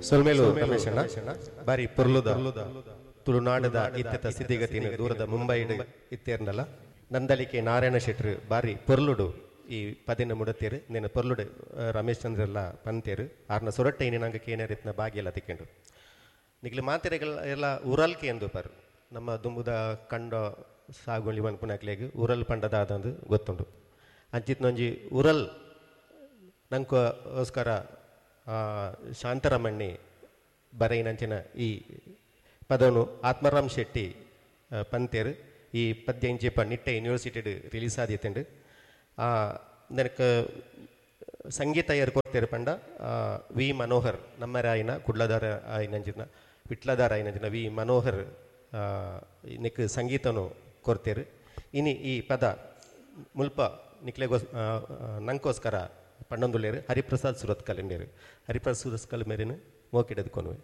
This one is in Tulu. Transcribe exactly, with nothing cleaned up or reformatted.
ಸೊಲ್ಮೆಲು ರಮೇಶಣ್ಣ ಬಾರಿ ಪೊರ್ಲುದ ತುಳುನಾಡದ ಇತ್ತೆತ ಸ್ಥಿತಿಗತಿನ ದೂರದ ಮುಂಬೈಡ್ ಇತ್ತೇರ್ನಲ ನಂದಳಿಕೆ ನಾರಾಯಣ ಶೆಟ್ರು ಬಾರಿ ಪೊರ್ಲುಡು ಈ ಪದಿನ ಮುಡತೇರು ನಿನ್ನ ಪೊರ್ಲುಡು ರಮೇಶ್ ಚಂದ್ರೆಲ್ಲ ಪಂತೇರು ಆರ್ನ ಸೊರಟ್ಟೆ ಇನಿ ನಂಗೆ ಕೇನರಿತ್ನ ಬಾಗಿಯೆಲ್ಲ ತಿಕ್ಕೆಂಡು ನಿಕ್ಲೆ ಮಾತೆರೆಗಳ ಎಲ್ಲ ಉರಲ್ಕೆ ಎಂದು ಪರ್ ನಮ್ಮ ದುಂಬುದ ಕಂಡ ಸಾಗುಳಿ ಮನ್ಪುನಕ್ಲೆಗ್ ಉರಲ್ ಪಂಡದಾದಂದು ಗೊತ್ತುಂಡು ಅಂಚಿತ್ನೊಂಜಿ ಉರಲ್ ನಂಕೋಸ್ಕರ ಶಾಂತರಮಣ್ಣಿ ಬರೈನಂಚಿನ ಈ ಪದನು ಆತ್ಮಾರಾಮ್ ಶೆಟ್ಟಿ ಪಂತೇರು ಈ ಪದ್ಯ ಇಂಚಿಪ ನಿಟ್ಟೆ ಯೂನಿವರ್ಸಿಟಿಡ್ ರಿಲೀಸ್ ಆದಿತ್ತುಂಡು ನನಕ್ಕೆ ಸಂಗೀತ ಏರ್ ಕೊರ್ತೇರು ಪಂಡ ವಿ ಮನೋಹರ್ ನಮ್ಮರಾಯಿನ ಕುಡ್ಲದಾರ ಆಯಿನಂಚಿನ ವಿಟ್ಲದಾರ ಆಯಿನಂಚಿನ ವಿ ಮನೋಹರ್ ನಿಕ್ ಸಂಗೀತನು ಕೊರ್ತೇರು ಇನಿ ಈ ಪದ ಮುಲ್ಪ ನಿಕ್ಲೆಗೋಸ್ ನಂಕೋಸ್ಕರ ಪಂಡೊಂದುಲ್ಲೇರು ಹರಿಪ್ರಸಾದ್ ಸುರತ್ಕಲ್ ಎಂಡೇರು ಹರಿಪ್ರಸಾದ್ ಸುರತ್ಕಲ್ ಮೇರಿನ ಮೋಕಿಡದು ಕೊನುವೆ.